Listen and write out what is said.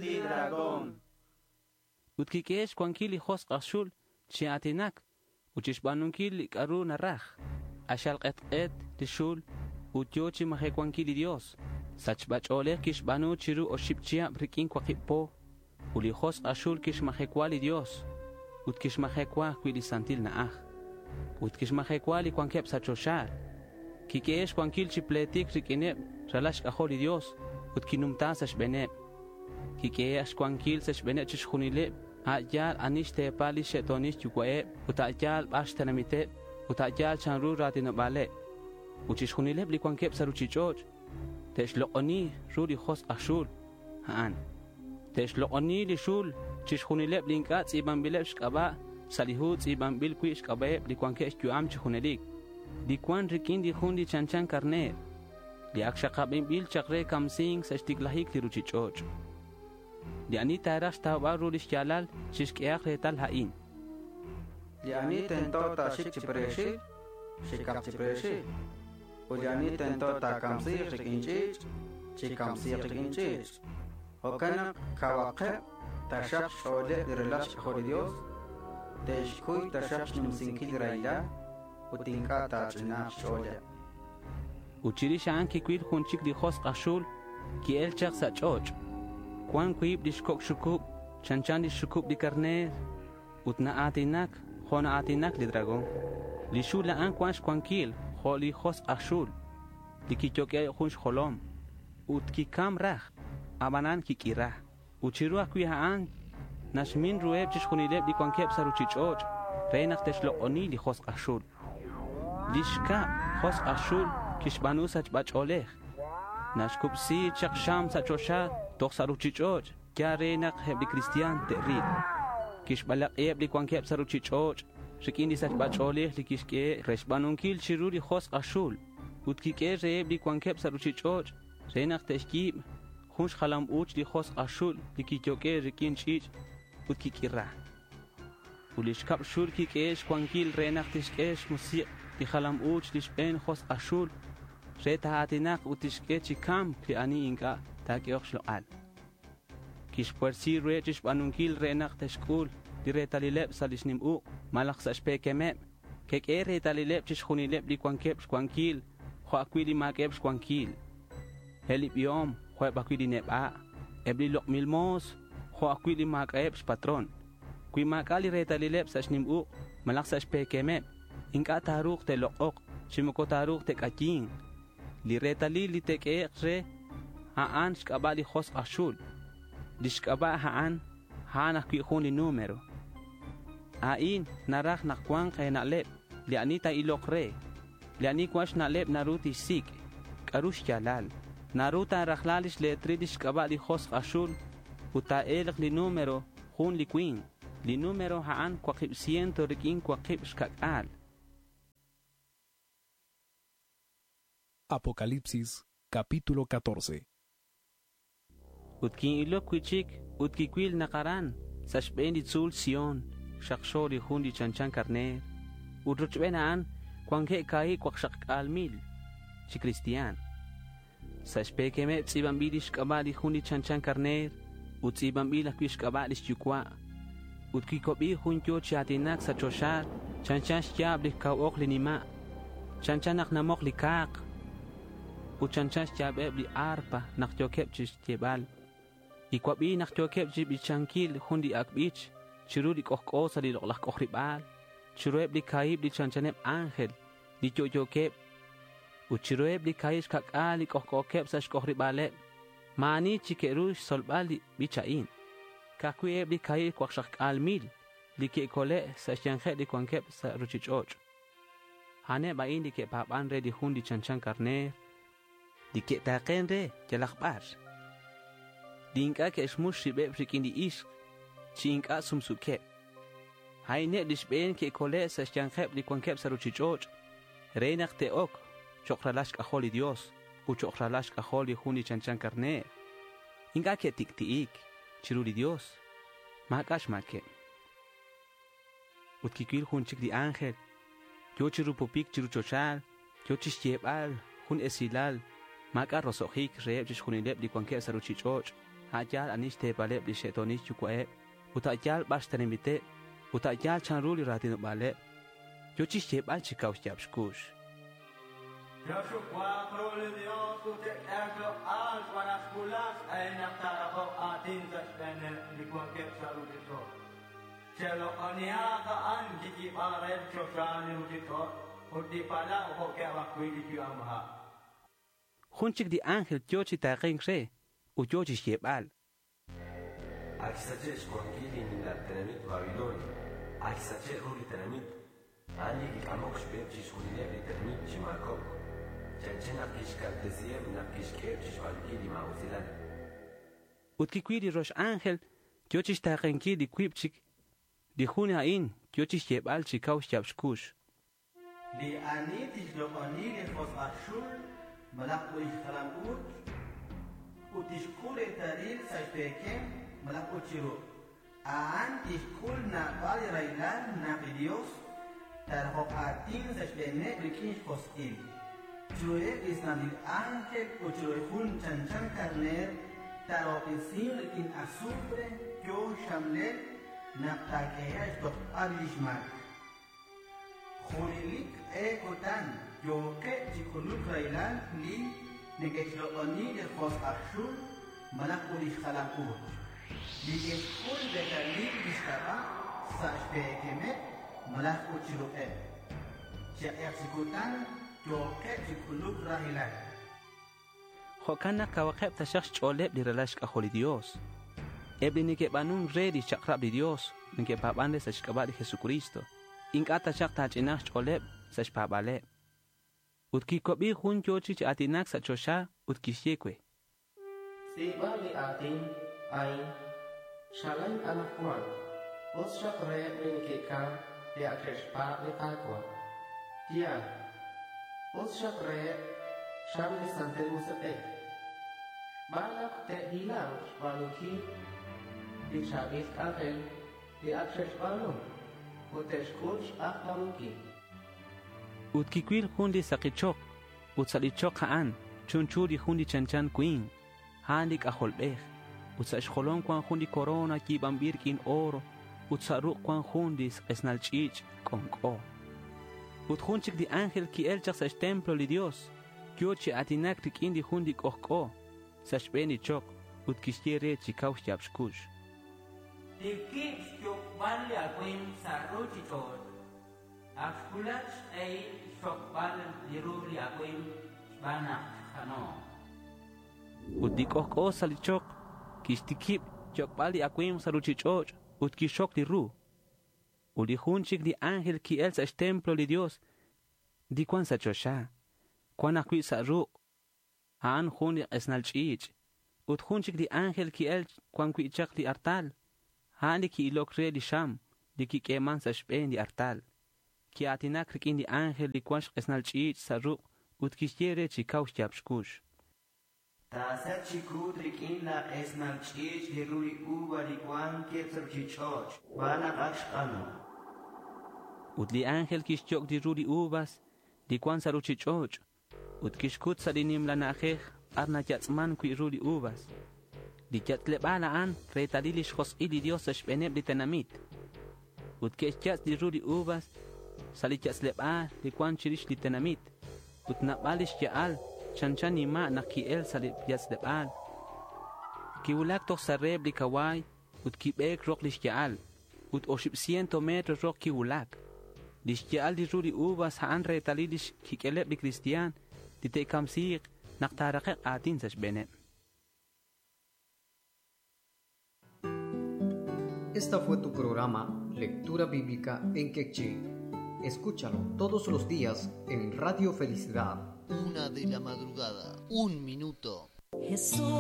Li dragón. Ut kik'ehe' xcuanquil li josk' aj xul chi a̱tinac ut chixba̱nunquil li c'a'ru naraj. K'axal k'etk'et li xul ut yo̱ chi majecuanquil li Dios. Sachba ch'o̱lej quixba̱nu chiru oxib chihab riq'uin cuakib po. Ut li josk' aj xul quixmajecua li Dios ut quixmajecua ajcui' li santil na'aj. Ut quixmajecua li cuanqueb sa' choxa. Quiq'uehe' xcuanquil chi pletic riq'uineb ralal xc'ajol li Dios ut quinumta sa' xbe̱neb. Quiq'uehe' xcuanquil sa' xbe̱neb chixjunileb a' yal ani xte̱pal lix xe'to̱nil xyucua'eb ut a' yal bar xtenamiteb ut a' yal chanru ra̱tinoba̱leb. Ut chixjunileb li cuanqueb sa' ruchich'och' te'xlok'oni ru li josk' aj xul a'an. Te'xlok'oni li xul chixjunileb li inc'a' tz'i̱banbileb xc'aba' sa' li hu tz'i̱banbil cui' xc'aba'eb li cuanqueb xyu'am chi junelic. Li cuan riq'uin li jun li chanchan carner, li ac xakabinbil chak re camsink sa' xticlajic li ruchich'och'. Li ani ta̱raj xtaubal ru lix ya̱lal chixq'uehak retal a'in. Li ani tento ta̱xic chi pre̱xil, xicak chi pre̱xil. Ut li ani tento ta̱camsi̱k riq'uin ch'i̱ch', chicamsi̱k riq'uin ch'i̱ch'. Jo'can nak cauakeb taxak xch'o̱leb li ralal xc'ajol li Dios, te'xcuy taxak xnumsinquil raylal ut inc'a' ta̱ch'ina̱k xch'o̱leb. Ut chirix a'an quicuil jun chic li josk' aj xul qui-el chak sa' ch'och'. Cuan cuib lix coc' xucub chanchan lix xucub li carner ut naa̱tinac jo' naa̱tinac li dragón. Li xul a'an cuan xcuanquil jo' li josk' aj xul li quiyoq'ue' jun xjolom ut quicam raj, abanan quiq'uira. Ut chiru ajcui' a'an naxmin ruheb chixjunileb li cuanqueb sa' ruchich'och' re nak te'xlok'oni li josk' aj xul. Li xcab josk' aj xul quixba̱nu sachba ch'o̱lej. Naxcubsi chak xam sa' choxa toj sa' ruchich'och' ya re nak eb li cristian te'ril. Quixbalak'iheb li cuanqueb sa' ruchich'och' riq'uin li sachba ch'o̱lej li quixq'ue re xba̱nunquil chiru li josk' aj xul ut quiq'ue reheb li cuanqueb sa' ruchich'och' re nak te'xyi̱b jun xjalam u̱ch li josk' aj xul li quiyoq'ue' riq'uin ch'i̱ch' ut quiq'uira. Ut li xcab xul quiq'uehe' xcuanquil re nak tixq'ue xmusik' li jalam u̱ch li xbe̱n josk' aj xul re ta̱a̱tinak ut tixq'ue chi ca̱mc li ani inc'a' ta̱q'uehok xlok'al. Quixpuersi ruheb chixba̱nunquil re nak te'xc'ul li retalileb sa' lix nim uk' malaj sa' xpe̱quemeb. Queq'ue retalileb chixjunileb li cuanqueb xcuanquil jo' ajcui' li ma̱q'ueb xcuanquil. Eb li biom jo' eb ajcui' li neba', eb li lok'mil mo̱s jo' ajcui' li ma̱c'a'eb xpatrón. Cui ma̱c'a' li retalileb sa' xnim uk' malaj sa' xpe̱quemeb, inc'a' ta̱ru̱k te'lok'ok chi moco ta̱ru̱k te'c'ayi̱nk. Li retalil li te'q'uehek re, a'an xc'aba' li josk' aj xul. Lix c'aba' a'an, a'an ajcui' jun li número. A'in naraj nak cua̱nk e̱na'leb li ani ta̱ilok re. Li ani cuan xna'leb naru tixsic' c'a'ru xya̱lal. Naru ta̱rajla lix letril lix c'aba' li josk' aj xul ut ta̱e̱lk li número jun li cui̱nk. Li número a'an 860. Apocalipsis, capítulo 14. Ut quin'iloc cui'chic ut quicuil nak aran sa' xbe̱n li tzu̱l Sion xakxo li jun li chanchan carner. Ut rochben a'an cuanqueb 260,000 chi cristian. Sa' xpe̱quemeb tz'i̱banbil lix c'aba' li jun li chanchan carner ut tz'i̱banbil ajcui' xc'aba' lix yucua'. Ut quicuabi jun yo chi a̱tinac sa' choxa chanchan xya̱b li cau ok li nima', chanchan nak namok li ca̱k ut chanchan xya̱beb li arpa nak yo̱queb chixyebal. Quicuabi nak yo̱queb chi bichanquil jun li ac' bich chiru li c'ojc'o sa' li lok'laj c'ojriba̱l, chiruheb li ca̱hib li chanchaneb ángel li yo'yo̱queb ut chiruheb li ca̱hib xca'c'a̱l li c'ojc'o̱queb sa' xc'ojriba̱leb. Ma̱ ani chi que'ru xsolbal li bich a'in. Ca'ajcui' eb li 260,000 li que'cole' sa' xya̱nkeb li cuanqueb sa' ruchich'och'. A'aneb a'in li que'pa̱ban re li jun li chanchan carner, li que'ta̱ken re yalak bar. Li inc'a' que'xmux ribeb riq'uin li ixk chi inc'a' sumsuqueb. A'ineb li xbe̱n que'cole' sa' xya̱nkeb li cuanqueb sa' ruchich'och' re nak te'oc cho'k ralal xc'ajol li Dios ut cho'k ralal xc'ajol li jun li chanchan carner. Inc'a' que'ticti'ic chiru li Dios. Ma̱c'a' xma̱queb. Ut quicuil jun chic li ángel yo chirupupic chiru choxal, yo chixyebal jun esilal ma̱c'a' roso'jic reheb chixjunileb li cuanqueb sa' ruchich'och'. A' yaal ani xteepaleb' li xe'toonil xyuwa'eb' ut a' yaal b'ar xtenamiteb' ut a' yaal chanru li raatinob'aaleb'. Yo chi xyeeb'al chi kaw xyaab' xkux. Che'xuwaq ru li Dios ut che'k'ehaq xloq'al xb'aan naq xwulak xq'ehil naq taaraqoq aatin sa' xb'eeneb' li wankeb' sa' ruuchich'och'. Cheloq'onihaq a'an kiyiib'ank re li choxa, li ruuchich'och' ut li palaw jo'keb' ajwi' li yu'amha'. Jun chik li ángel yo chi taaqenk re ut yo chi xyeeb'al. Ak xsache' xwankil li nimla tenamit Babilonia. Ak xsache' ru li tenamit. A'an li kik'amok xb'eheb' chixjunileb' li tenamit chi maakob'k. Chanchan naq kixkaltesiheb' naq kixk'eheb' chixb'aanunkil li maa'usilal. Ut kiwil li rox ángel yo chi xtaaqenkil li wiib' chik. Li jun a'in yo chi xyeeb'al chi kaw xyaab' xkux. Li ani tixloq'oni li josq' aj xul malaj ut lix jalam-uuch ut tixk'ul reetalil sa' xpeekem malaj ut chi ruq', a'an tixk'ul naab'al li rahilal naq li Dios taaraqoq aatin sa' xb'eeneb' rik'in xjosq'il. Chiruheb' li santil ánjel ut chiru jun chanchan karneer taarahob'tesinq rik'in azufre yo xxamlel naq taak'ehe'q xtojb'al lix maak. Junelik q'e kutan yooqeb' chi k'uluk rahilal li neke'xloq'oni li josq' aj xul malaj ut lix jalam-uuch, li ke'xk'ul reetalil lix k'ab'a' sa' xpeekemeb' malaj ut chi ruq'eb'. Chi q'eq chi kutan yooqeb' chi k'uluk rahilal. Jo'kan naq kawaqeb' taxaq xch'ooleb' li ralal xk'ajol li Dios. Eb' li neke'b'aanunk re li xchaq'rab' li Dios neke'paab'an re sa' xk'ab'a' li Jesucristo. Ink'a' taxaq taach'inaq xch'ooleb' sa' xpaab'aaleb'. Ut kiwab'i jun yo chi aatinak sa' choxa ut kixye we. Tz'iib'a li aatin a'in chalen anaqwan, us xaq reheb' li neke'kamk li ak xe'xpaab' li Qaawa'. Yaal, us xaq reheb' chan li Santil Musiq'ej, xb'aan naq te'hilanq xb'aanunkil li chaab'il k'anjel li ak xe'xb'aanu ut te'xk'ul xq'ajkamunkil. Ut kiwil jun li saqi choq ut sa' li choq a'an chunchu li jun li chanchan winq, a'an li k'ajolb'ej. Ut sa' xjolom cuan jun li corona yiib'anb'il rik'in oro ut sa' ruq' cuan jun li q'esnal ch'iich' k'onk'o. Ut jun chik li ángel ki'el chaq sa' xtemplo li Dios, yo chi aatinak rik'in li jun li k'ojk'o sa' xb'een li choq ut kixye re chi kaw xyaab' xkux. Tikib' xyok'b'al li awimq sa' ruuchich'och'. Ak xwulak xq'ehil xxokb'al li ru li awimq xb'aan naq xq'ano'. Ut li k'ojk'o sa' li choq kixtikib' xyok'b'al li awimq sa' ruuchich'och' ut kixxok li ru. Ut li jun chik li ángel ki'el sa' xtemplo li Dios li cuan sa' choxa, cuan ajwi' sa' ruq', a'an jun li q'esnal ch'iich'. Ut jun chik li ángel ki'el cuan wi' chaq li artal, a'an li ki'ilok re li xam li kik'eman sa' xb'een li artal. Ki'aatinak rik'in li ángel li cuan xq'esnal ch'iich' sa' ruq' ut kixye re chi kaw xyaab' xkux. Taasach chi kut rik'in laaq'esnal ch'iich' li ru li uva li wankeb' sa' ruuchich'och' xb'aan naq ak xq'ano'. Ut li ángel kixyok' li ru li uvas li cuan sa' ruuchich'och' ut kixkut sa' li nimla na'ajej b'ar nayatz'man wi' ru li uvas. Li yatz'leb'aal a'an reetalil lix josq'il li Dios sa' xb'eeneb' li tenamit. Ut ke'xyatz' li ru li uvas sa' li yatz'leb'aal li cuan chirix li tenamit. Ut naab'al lix ya'al chanchan nima' naq ki'el sa' li yatz'leb'aal. Kiwulak toj sa' reheb' li kawaay ut kib'eek roq lix ya'al. Ut 800 metro roq kiwulak. Lix ya'al li ru li uvas a'an reetalil lix kik'eleb' li cristian li te'kamsiiq naq taaraqe'q aatin sa' xb'eeneb'. Esta fue tu programa Lectura Bíblica en Quechí. Escúchalo todos los días en Radio Felicidad. 1 de la madrugada, 1 minuto. Jesús.